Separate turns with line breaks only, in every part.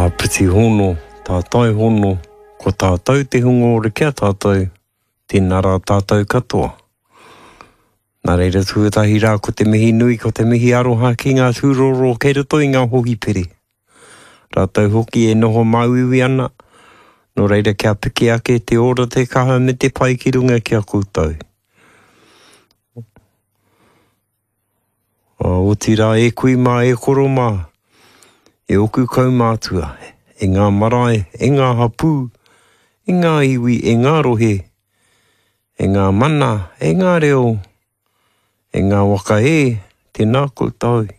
Āpiti hono, tātai hono, ko tātou te hunga ora ki a tātou, tēnā rā tātou katoa. Nā reira tuatahi rā ko te mihi nui, ko te mihi aroha ki ngā tūroro kei roto i ngā hohipere. Rātou hoki e noho māuiui ana, nō reira kia piki ake te ora, te kaha me te pai ki runga ki a koutou. Otirā e kui mā, e koro mā, e oku kaumātua, e ngā marae, e ngā hapū, e ngā iwi, e ngā rohe, e ngā mana, e ngā reo, e ngā waka e, tēnā koutou,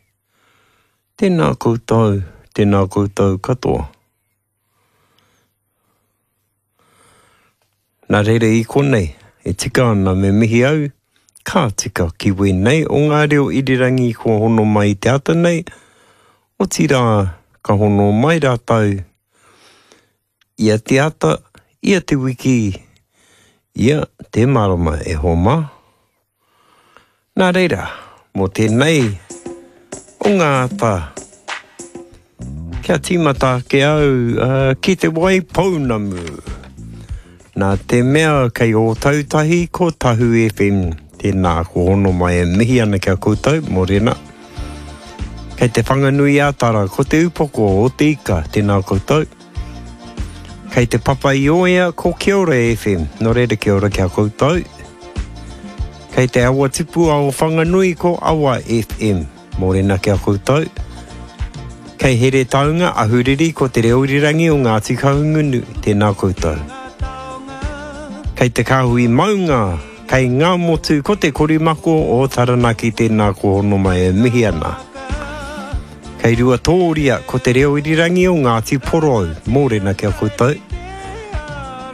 tēnā koutou, tēnā koutou katoa. Nā reira i konei, e tika ana me mihi au, ka tika ki wēnei o ngā reo irirangi kua hono mai i te ata nei, otirā ka hono mai rātou ia te ata, ia te wiki, ia te marama e hoa mā. Nā reira, mō tēnei o ngā ata, kia tīmata ake au uh, ki te wai pounamu. Nā te mea kei Ōtautahi ko Tahu FM, tēnā ko hono mai e mihi ana ki a koutou, mōrena. Kei te Whanganui a Tara, ko te upoko o te ika, tēnā koutou. Kei te Papa i Oea, ko Kia Ora FM, nō reira kia ora ki a koutou. Kei te Awa Tipua o Whanganui, ko Awa FM, mōrena ki a koutou. Kei Heretaunga, Ahuriri, ko Te Reo Irirangi o Ngāti Kahungunu, tēnā koutou. Kei te Kāhui Maunga, kei Ngāmotu, ko Te Korimako o Taranaki, tēnā ko hono mai e mihi ana. Kei Ruatōria, ko te reo irirangi o Ngāti Porou, mōrena ki a koutou.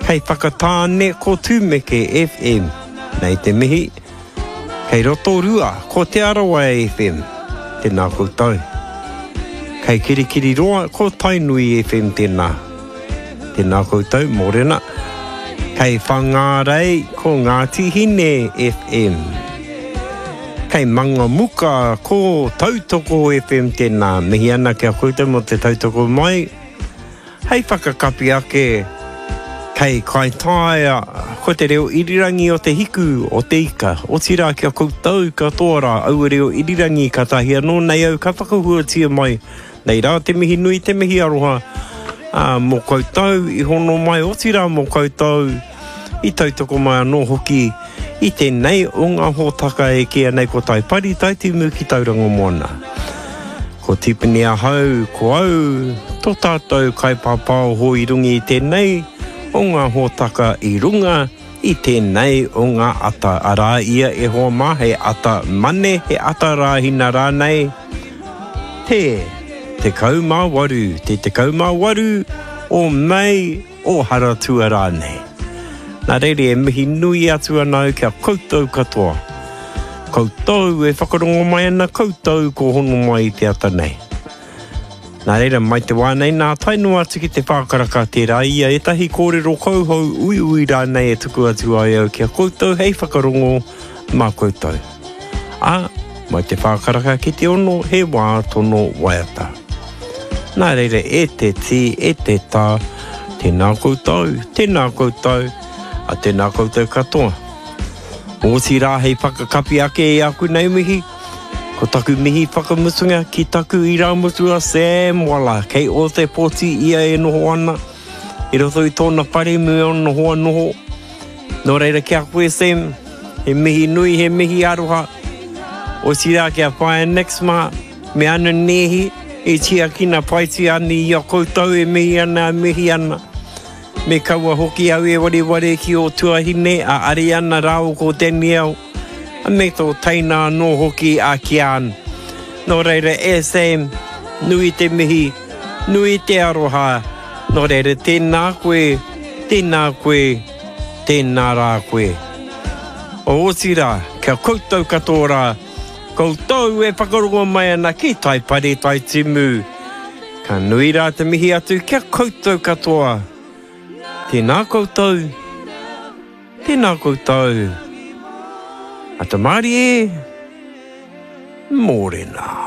Kei Whakatāne, ko Tūmeke FM, nei te mihi. Kei Rotorua, ko Te Arawa FM, tēnā koutou. Kei Kirikiriroa, ko Tainui FM tēnā. Tēnā koutou, mōrena. Kei Whangārei, ko Ngāti Hine FM. Kei Mangamuka, ko Tautoko FM tēnā. Mihi ana ki a koutou mō te tautoko mai. Hei whakakapi ake, kei Kaitaia, ko te reo irirangi o te hiku, o te ika. Otirā ki a koutou katoa rā, aua reo irirangi kātahi anō nei au ka whakahuatia mai. Nei rā te mihi nui, te mihi aroha, ā, mō koutou i hono mai, otirā mō koutou i tautoko mai anō hoki i tēnei o ngā hōtaka e kīia nei ko Taipari, Taitimu ki Tauranga Moana. Ko Tipene ahau, ko au, tō tātou kaipāpāoho i runga i tēnei o ngā hōtaka i runga i tēnei o ngā ata, arā ia e hoa mā he ata mane, he ata rāhina rānei, te 18, te 18 o Mei, o Haratua rānei. Nā reira e mihi nui atu ana au ki a koutou katoa. Koutou e whakarongo mai ana koutou ko hono mai i te ata nei. Nā reira, mai te wā nei nā tae noa atu ki te whākaraka tērā ia ētahi kōrero kauhou uiui rānei e tuku atu ai au ki a koutou hei whakarongo mā koutou. Ā, mai te whākaraka ki te ono he wā tono waiata. Nā reira, e te tī, e te tā, tēnā koutou, tēnā koutou, a tēnā koutou katoa. Otirā hei whakakapi ake i aku nei mihi, ko taku mihi whakamutunga ki taku irāmutu a Sam Waller, kei Ōtepoti ia e noho ana, i roto i tōna whare me ōna hoa noho. Nō reira ki a koe Sam, he mihi nui, he mihi aroha, otirā ki a Whaea Nix mā, Me ana nēhi e tiakina paitia ana i a koutou e mihi ana, e mihi ana. Me kaua hoki au e wareware ki ō tuahine a Ariana rāua ko Danielle, me tō teina anō hoki a Kian. Nō reira e Sam, nui te mihi, nui te aroha, nō reira tēnā koe, tēnā koe, tēnā rā koe. Otirā, kia koutou katoa rā, Koutou e whakarongo mai ana ki Taipari Taitimu. Ka nui rā te mihi atu ki a koutou katoa. Tēnā koutou, tēnā koutou. Ata mārie, mōrena.